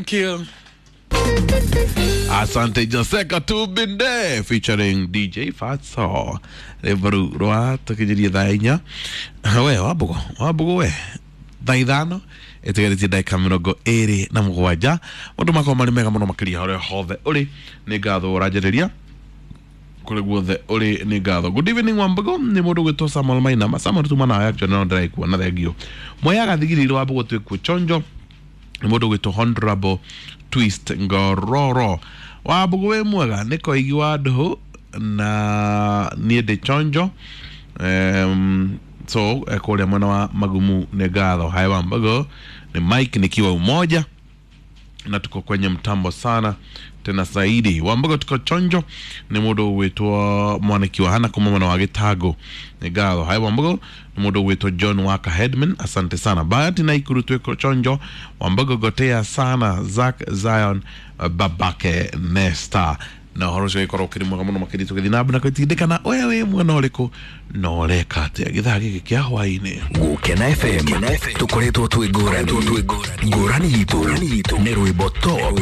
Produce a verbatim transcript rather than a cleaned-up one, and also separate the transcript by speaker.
Speaker 1: Thank you.
Speaker 2: Asante Joseka Tubinde featuring D J Fatso. Rwĩmbo rwa tukijiria thaa inya. We wambugo, wambugo we. Thaa ithano ĩtigarĩtie ndagĩka mĩrongo ĩrĩ na mũgwanja. Maũndũ makwa marĩ mega mũno makĩria harĩa hothe ũrĩ. Nĩ ngatho ũranjarĩria kũrĩ guothe ũrĩ, nĩ ngatho. Good evening Wambugo, nĩ mũndũ ũgwĩtwo Samuel Mainama. Samuel tuma nawe actually no ndĩraigua na thengio. Moyaga thigiriro Wambugo twĩkuo chonjo. Nĩ mũndũ ũgwĩtwo Honorable Twist Ngororo. Wambugo wĩ mwega, nĩ koigi wa ndũhũ na niĩ ndĩ chonjo. Um, so eh, kũrĩa mwena wa Magumu nĩ ngatho. Hai Wambugo, ni Mike nikiwa Umoja na tuko kwenye mtambo sana tena zaidi. Wambugo tuko chonjo, ni mundu gwitwo mwaniki wa hana kuma mwena wa Gitago, ni ngatho. Hai Wambugo, ni mundu gwitwo John Waka Headman, asante sana. Bahati na Ikuru twiko chonjo. Wambugo gotea sana Zack Zion babake Nesta na ũhoro ũcio ũgĩkorwo ũkĩrĩ mwega mũno makĩria tũgĩthiĩ na mbere na gwĩtindĩkana we wĩ mwena ũrĩkũ na ũreka atĩa gĩthaa gĩkĩ kĩa hwaĩ-inĩ.
Speaker 3: Gũkena F M tũkoretwo twĩ ngũrani ngũrani itũ nĩ rwĩmbo top.